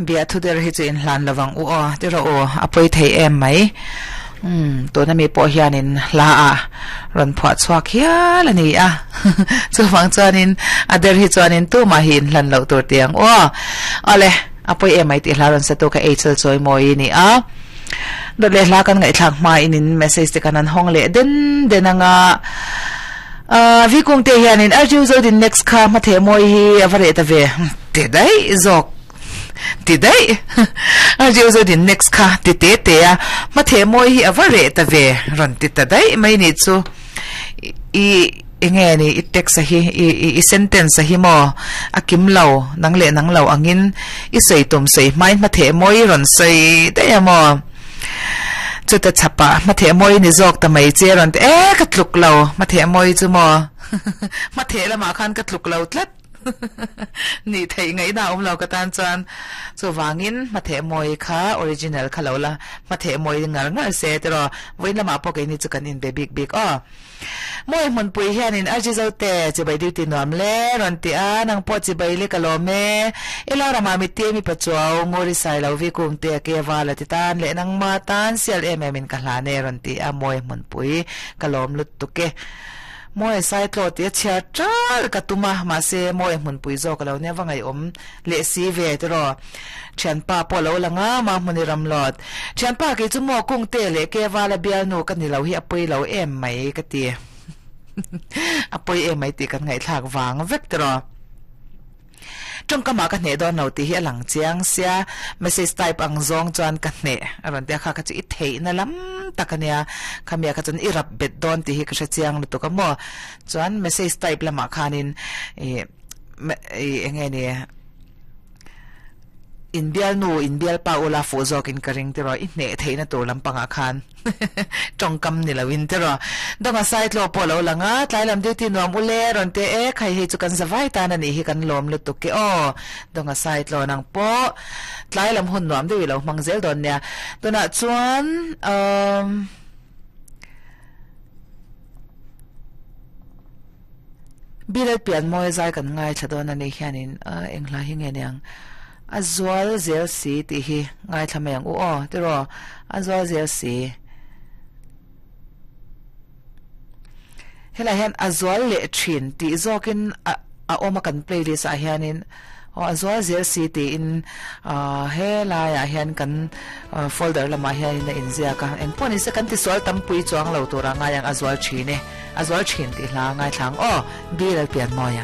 Bia thu der hi chu in hlan lovang u aw ti rawh u a pawi thei em mai. Umm tuna mi pawh hianin hla ah rawn phuah chhuak hial a ni a chuvang chuanin a der hi chuanin tumah hi in hlan loh tur ti ang u aw. Awle a pawi em mai tih hla rawn sa tu kha Eichel Chawimawi a ni a. Dawt leh hla kan ngaihthlak hmain in message te kan han hawng leh den den anga ah Vikung te hianin Arjun Zodin next kha hmatheh mawi hi a va reh ta ve ti daih zawk ti daih Arjun Zodin next kha ti te te a hmatheh mawi hi a va reh ta ve rawn ti ta daih mai ni chu i Enge ni i text a hi i i sentence a hi maw a kim lo nang leh nang lo angin i sawi tum sawi hmain hmatheh mawi i rawn sawi daih a maw chuta chhapah hmatheh mawi ni zawk ta mai che rawn ti e ka tluk lo hmatheh mawi chu maw hmatheh lamah khan ka tluk lo tlat. Nih theih ngaihna a awm lo ka tan chuan chuvangin hmatheh mawi kha original kha lo la hmatheh mawi ngar ngar se tiraw vawiin lamah pawh keini chu kan inbe bik bik aw. Mawi hmunpui hianin RG Zote chibai duty nuam le rawn ti a nang pawh chibai le ka lawm e i lo ramah mittir mi pachuau nguri sai lo vi kung te ke val a ti tan leh nangma tan sial em em in ka hlan e rawn ti a mawi hmunpui ka lawm lutuk e. Mawi Saitlaw tih a chhiar ṭal ka tum a, mahse Mawi hmunpui zawk a lo nia va ngaihawm leh si ve tiraw. Ṭhianpa pawh a lo lang a, mah hmuni ramlawt. Ṭhianpa kei chu maw Kungte leh Kevala bialnu ka ni lo hi a pawi lo em mai ka ti. A pawi em mai tih kan ngaihthlak vang vek tiraw. Tawngkamah ka hneh dawn lo tih hi a lang chiang sia, message type ang zawng chuan ka hneh a rawn ti a, kha kha chu i theihna lam tak a nia, khamiah kha chuan i rap bet dawn tih hi ka hre chiang lutuk a maw, chuan message type lamah khanin ih ih eng nge ni inbialnu inbialpa ula fuh zawkin ka ring tiraw i hneh theihna tur lampangah khan. Tawngkam ni loin tiraw. Dawng a Saitlaw pawh lo lang a, tlai lam duty nuam u le rawn ti e, khai hei chu kan za vai tan a nih hi kan lawm lutuk e aw. Dawng a Saitlaw nang pawh tlai lam hun nuam deuh i lo hmang zel dawn nia. Tunah chuan umm. Bilet pian mawi zai kan ngaithla dawn a nih hianin eng hla hi nge niang a zual zel si tih hi ngaithla mai ang u aw tiraw a zual zel si helai hian a zual leh thin tih zawkin a a awm a kan playlist ah hianin aw a zual zel si tiin ah helaiah hian kan folder lamah hianin a inziak a engpawh nise kan tisual tampui chuang lo tura ngai ang a zual thin e. A zual thin tih hla ngaithla ang aw, Bill Pianmawia.